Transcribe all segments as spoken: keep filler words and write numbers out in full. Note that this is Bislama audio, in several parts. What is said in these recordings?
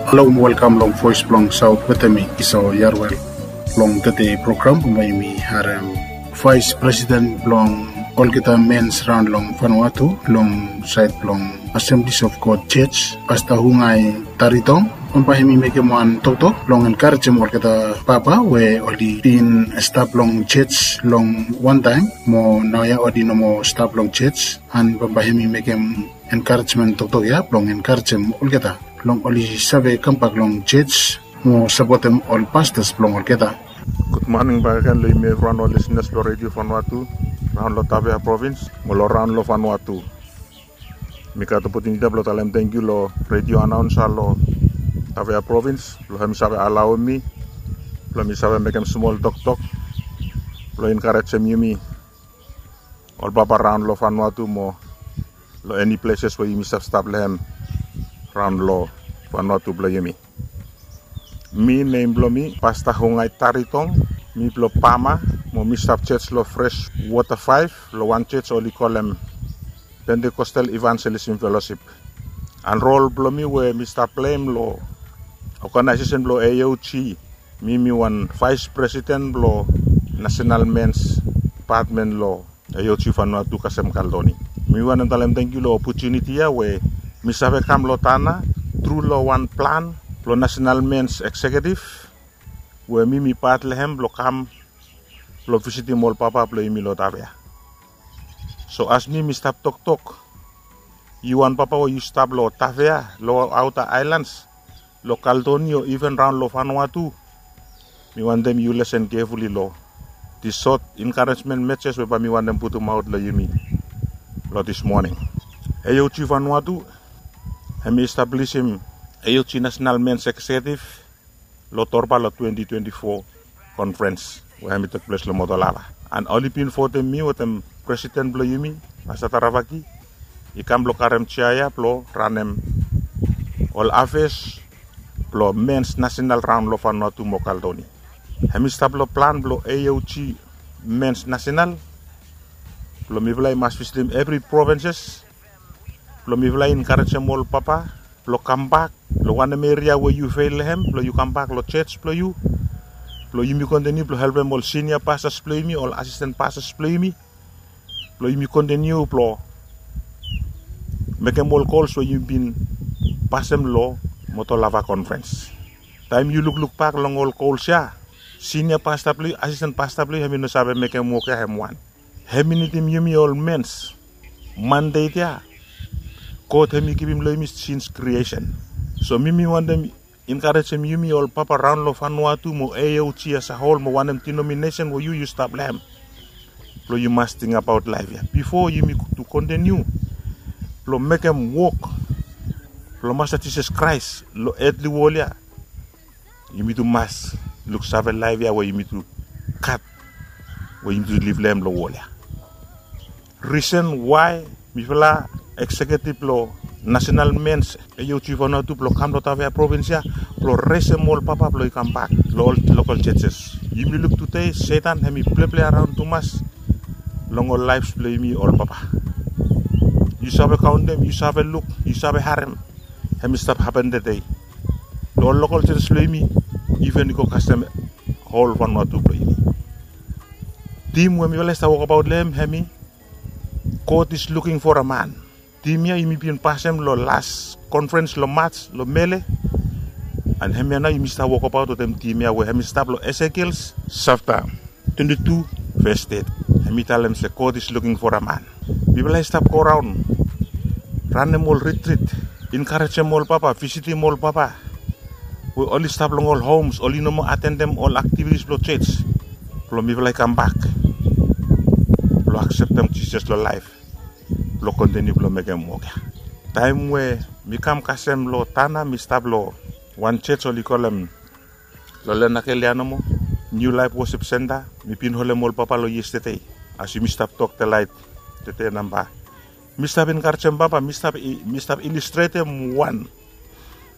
Halo, welkam long Voice blong Saut wetem mi, Esau Yarwel. Long tede program bambae yumi harem Vice President blong olgeta mens raon long Vanuatu long saed blong Assemblies of God Church, Pasta Hungai Taritong. Bambae hemi mekem wan toktok blong enkarejem olgeta papa we oli bin stap long church long wantaem mo naoia oli no moa stap long church, and bambae hemi mekem enkarejmen toktok ya blong enkarejem olgeta blong oli save kambak long church mo sapotem ol pastors blong olgeta. Gud moning bakegen long yumi evriwan ol lisenas blong Redio Vanuatu raon long Tafea provins mo long raon long Vanuatu. Mi gat opotuniti ya blong talem tangkiu long redio anaonsa long Tafea provins blong hemi save alaoem mi blong mi save mekem smol toktok blong enkarejem yumi ol papa raon long Vanuatu mo long eni pleses we yumi stap stap long hem raon long Vanuatu blong yumi. Mi, nem blong mi Pasta Hungai Taritong. Mi blong Pama mo mi stap church long Fresh Water Five, long wan church oli kolem Pentecostal Evangelism Fellowship. And rol blong mi we mi stap pleim long oganaesesen blong A O G, mi mi wan vice president blong National Men's Department long A O G Vanuatu kasem Caldoni. Mi wantem talem tangkiu long opotuniti ya we mi save kam long Tanna tru long wan plan blong National Men's Executive we mi mi pat long hem blong kam blong visitim ol papa blong yumi long Tafea. So as mi mi stap toktok, yu wan papa we yu stap long Tafea, long aota aelans, long Caldoni o iven raon long Vanuatu, mi wantem yu lesen kefuli long dis sot enkarejmen meses we bae mi wantem putumaot long yumi long dis moning. A O G Vanuatu hemi establisim A O G National Men's Executive long Torba long twenty twenty-four conference we hemi tekples long Motolava. And oli bin votem mi wetem presiden blong yumi, Pasta Taravaki, i kam blong karem jea ya blong ranem ol afes blong mens nasenal raon long Vanuatu mo Caldoni. Hemi stap long plan blong A O G mens nasenal blong mifala i mas visitim evri provinses blong mifala i enkarejem ol papa blong kambak long wanem eria we yu fel long hem, blong yu kambak long church blong yu, blong yumi kontiniu blong helpem ol sinia pastors blong yumi, ol asisten pastors blong yumi, blong yumi kontiniu blong mekem ol gols we yumi bin pasem long Motolava conference. Taem yu lukluk bak long ol gols ya, sinia pasta blong yu, asisten pasta blong yu, hemi no save mekem wok ya hem wan. Hemi nidim yumi ol mens mandate ya God hemi givim long yumi since creation. So mi mi wantem enkarejem yumi ol papa raon long Vanuatu mo A O G as a whole mo wanem denominesen we yu yu stap long hem, blong yu mas tingbaot laef ya bifo yumi tu kontiniu blong mekem wok blong Masta Jisas Kraes long etli wol ya. Yumi tu mas luksave laef ya we yumi tu gat, we yumi tu liv long hem long wol ya. Risen wae mifala ekseketif blong Nasenal Mens A O G Vanuatu blong kam long Tafea provins ya blong resem ol papa blong i kambak long ol lokol jejes. Yumi luk tude Setan hemi pleple raon tumas long ol laefs blong yumi ol papa. Yu save kaontem, yu save luk, yu save harem, hemi stap hapen tude long ol lokol jejes blong yumi, iven i go kasem hol Vanuatu blong yumi. Tim we mifala i stap wokbaot long hem hemi God is looking for a man. Tim ya yumi bin pasem long las konferens long Maj long Mele. And hemia nao yumi stap wokbaot wetem tim ya we hemi stap long Esekiel sapta twenti tu ves teti. Hemi talem se God is looking for a man. Mifala i stap goraon, ranem ol ritrit, enkarejem ol papa, visitim ol papa we oli stap long ol homs, oli no moa atendem ol aktivitis blong jos, blong mifala i kambak blong akseptem Jisas long laef blong kontiniu blong mekem wok ya. Taem we mi kam kasem long Tanna, mi stap long wan jos oli kolem long Lenakel ya nomo, New Life Worship Center. Mi bin holem ol papa long yestede, as yumi stap tok delaet tude namba. Mi stap enkarejem papa, mi stap i- mi stap ilustretem wan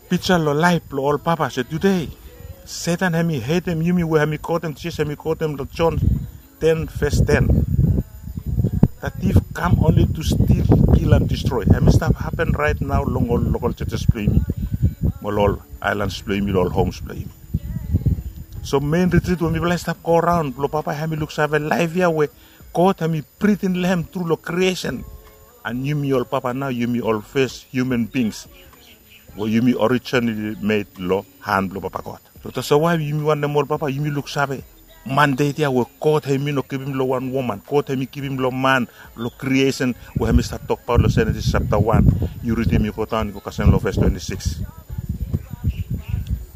pija long laef blong ol papa se tude Setan hemi hetem yumi we hemi kotem Jisas, hemi kotem long Jon ten ves ten. The thief come only to steal, kill and destroy. Hemi stap hapen raet nao long ol lokol jejes blong yumi. mo long ol aelans blong yumi, long ol homs blong yumi. So mein ritrit we mifala i stap go raon blong papa hem i luksave laef ya we God hem i britin long hem tru long kriesen. And yumi ol papa nao yumi ol fes hiuman bings we yumi orijinali med long han blong papa God. So tasol wae yumi wantem ol papa yumi luksave mandet ya we God hem i no givim long wan woman, God hem i givim long man, long kriesen we hem i stap tokbaot long Jenesis japta wan. Yu ridim i go daon i go kasem long ves twenti sikis.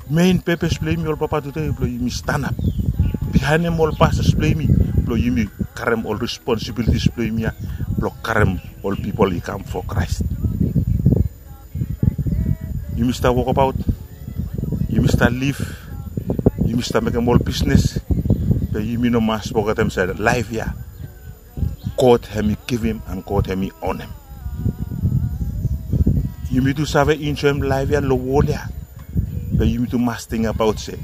Mein pepes blong yumi ol papa tude blong yumi stanap bihaenem ol pases blong yumi, blong yumi karem ol responsibilitis blong yumi ya blong karem ol pipol i kam fo Kraes. Yumi stap wokbaot, yumi stap lif, yumi stap mekem ol bisnes, be yumi no mas fogetem se laef ya God hem i givim and God hem i onem. Yumi tu save enjoem laef ya long wol ya, be yumi tu mas tingbaot se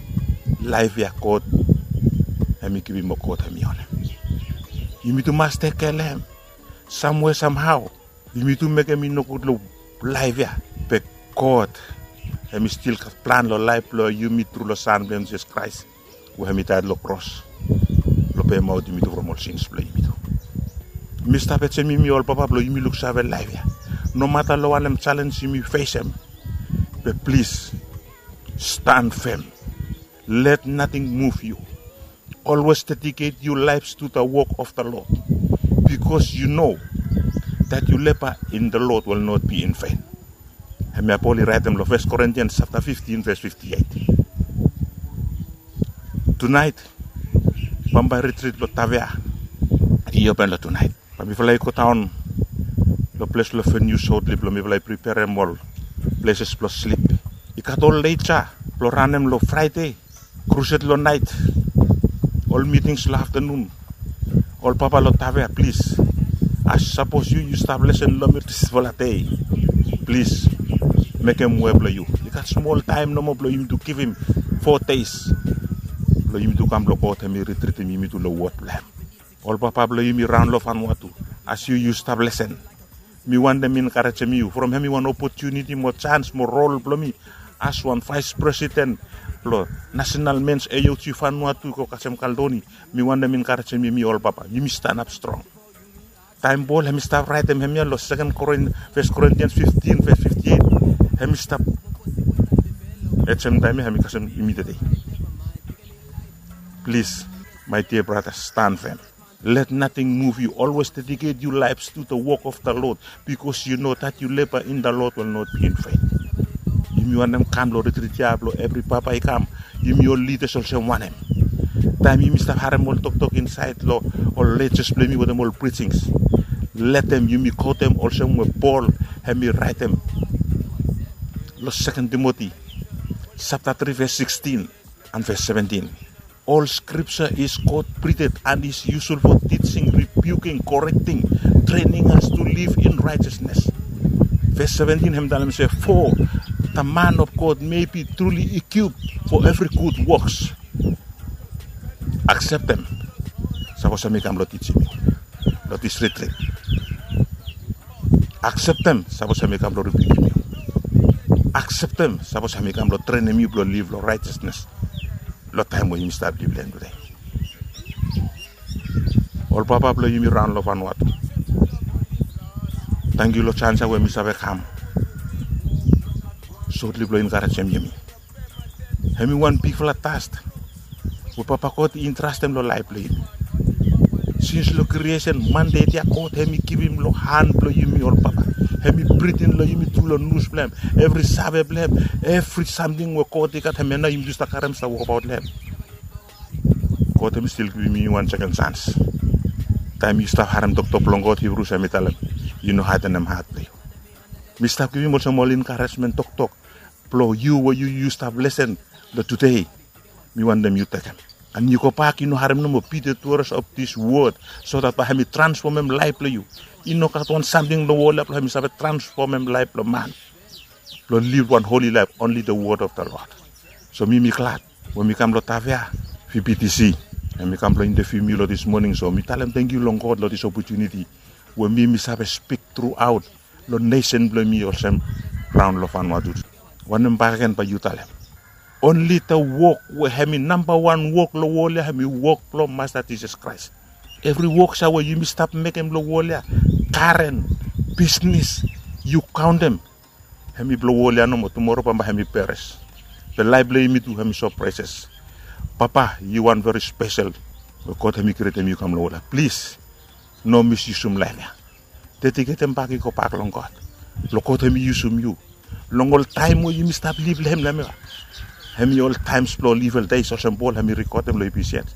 laef ya God hem i givim o God hem i onem. Yumi tu mas tekem kea long hem samwe samhao. Yumi tu mekem i nogud long laef ya, be God hem i stil gat plan long laef blong yumi tru long San blong hem Jisas Kraes we hem i daet long kros blong pemaot yumi tu from ol sins blong yumi tu. Mi stap ejem yumi ol papa blong yumi luksave laef ya. Nomata long wanem jalenj yumi fesem, be plis stan fem. Let nothing move you. Always dedicate your lives to the work of the Lord, because you know that your labor in the Lord will not be in vain. Hemia Pol i raetem long First Corinthians chapter fifteen, verse fifty-eight. Tunaet bambae retreat blong Tavea i open long tunaet. Bae mifala i go daon long ples blong venue shortly blong mifala i preperem ol places blong slip. I gat ol late ya blong ranem long Friday, crusade long naet, ol meetings long afternoon. Ol papa long Tavea, plis, as sapos yu yu stap lesen long mi disfala dei, plis mekem we blong yu. I gat smol taem nomo blong yumitu givim four days blong yumitu kam blong God hemi ritritim yumitu long wod blong hem. Ol papa blong yumi raon long Vanuatu, as yu yu stap lesen, mi wantem enkarejem yu from hemi wan opotuniti mo jans mo rol blong mi as wan vaes presiden blong Nasenal Mens A O G Vanuatu i go kasem Kaldoni. Mi wantem enkarejem yumi ol papa, yumi stanap strong. Taem Pol hemi stap raetem hemia long Second Corin-, First Corinthians fifteen, verse fifty-eight, hemi stap ejem taem ya hemi kasem yumi tede. Plis, my dear brothers, stand firm. Let nothing move you. Always dedicate your lives to the work of the Lord, because you know that your labor in the Lord will not be in vain. Yumi wantem kam long retreat ya blong evri papa i kam, yumi ol lidas olsem wanem? Taem yumi stap harem ol toktok insaed long ol lejes blong yumi wetem ol prijings, letem yumi kotem olsem we Pol hemi raetem long Second Timothy chapter three, verse sixteen and verse seventeen. All scripture is God-breathed and is useful for teaching, rebuking, correcting, training us to live in righteousness. Verse seventeen hem talem se, "For the man of God may be truly equipped for every good works." Akseptem sapos hemi kam blong tijim yu long dis retreat. Akseptem sapos hemi kam blong ribukim yu. Akseptem sapos hemi kam blong trenem yu blong liv long righteousness long taem we yumi stap liv long hem tude. Ol papa blong yumi raon long Vanuatu, tangkiu long jans ya we mi save kam sotli blong enkarejem yumi. Hemi wan bigfala tas we Papa God i entrastem long laef blong yumi. Sins long kriesen, mandeit ya God hemi givim long han blong yumi ol papa. Hemi britin long yumi tru long nus blong hem, evri save blong hem, evri samting we God i gat, hemia nao yumi tu stap karem stap wokbaot long hem. God hemi stil givim yumi wan seken jans. Taem yu stap harem toktok blong God, Hibrus hemi talem, yu no hadenem hat blong yu. Mi stap givim olsem ol enkarejmen toktok blong yu we yu yu stap lesen long tude. Mi wantem yu tekem and yu gobak, yu no harem nomo, be the doers of this word, so that bae hemi transfomem laef blong yu. I no gat wan samting long wol ya blong hemi save transfomem laef blong man blong liv wan holi laef, only the word of the Lord. So mi mi glad we mi kam long Tavea V B T C and mi kam blong inteviu mi long dis moning. So mi talem tangkiu long God long dis opotuniti we mi mi save spik truaot long nesen blong mi olsem raon long Vanuatu. Wanem bakegen bae yu talem? Onli da wok we hem i namba wan wok long wol ya hem i wok blong Masta Jisas Kraes. Evri wok sa we yumi stap mekem long wol ya, garen, bisnis, yu kaontem, hem i blong wol ya nomo. Tumora bambae hem i peres. Be laef blong yumi tu hem i so preses. Papa, yu wan veri spesel we God hem i krietem yu kam long wol ya. Plis, no misyusum laef ya. Dediketem bak i gobak long God blong God hem i yusum yu. Long ol taem we yumi stap lif long hem long hem ya, hem i ol taems blong ol evil des olsem Pol hem i rikodem long Efisians.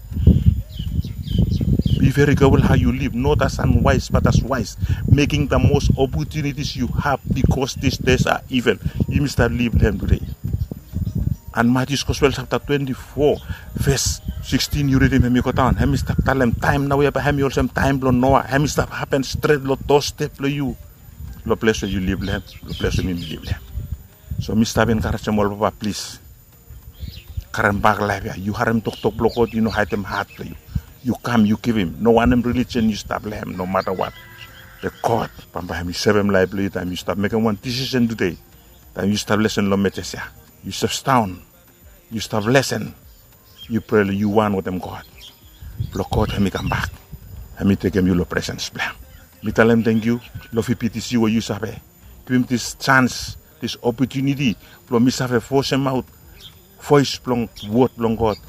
Be very careful how you live, not as unwise but as wise, making the most opportunities you have, because these days are evil. Yumi stap lif long hem tude. And Matius Gospel sapta twenti fo, ves sikstin, yu ridim hem i go daon, hem i stap talem taem naoia bae hem i olsem taem blong Noa. Hem i stap hapen stret long dosstep blong yu, long ples we yu lif long hem, long ples we mi lif long hem. So mi stap enkarejem ol papa, plis, karem bak laef ya. Yu harem toktok blong God, yu no haedem hat blong yu. Yu kam, yu givim. No wanem relijion yu stap long hem, nomata wat, be God bambae hem i sevem laef blong yu taem yu stap mekem wan disisen tude. Taem yu stap lesen long mejes ya, yu stap sidaon, yu stap lesen, yu prea long yu wan wetem God, blong God hem i kambak, hem i tekem yu long presens blong hem. Mi talem tangkiu long V B T C we yu save givim dis jans, dis opotuniti blong mi save vosemaot voes blong wod blong God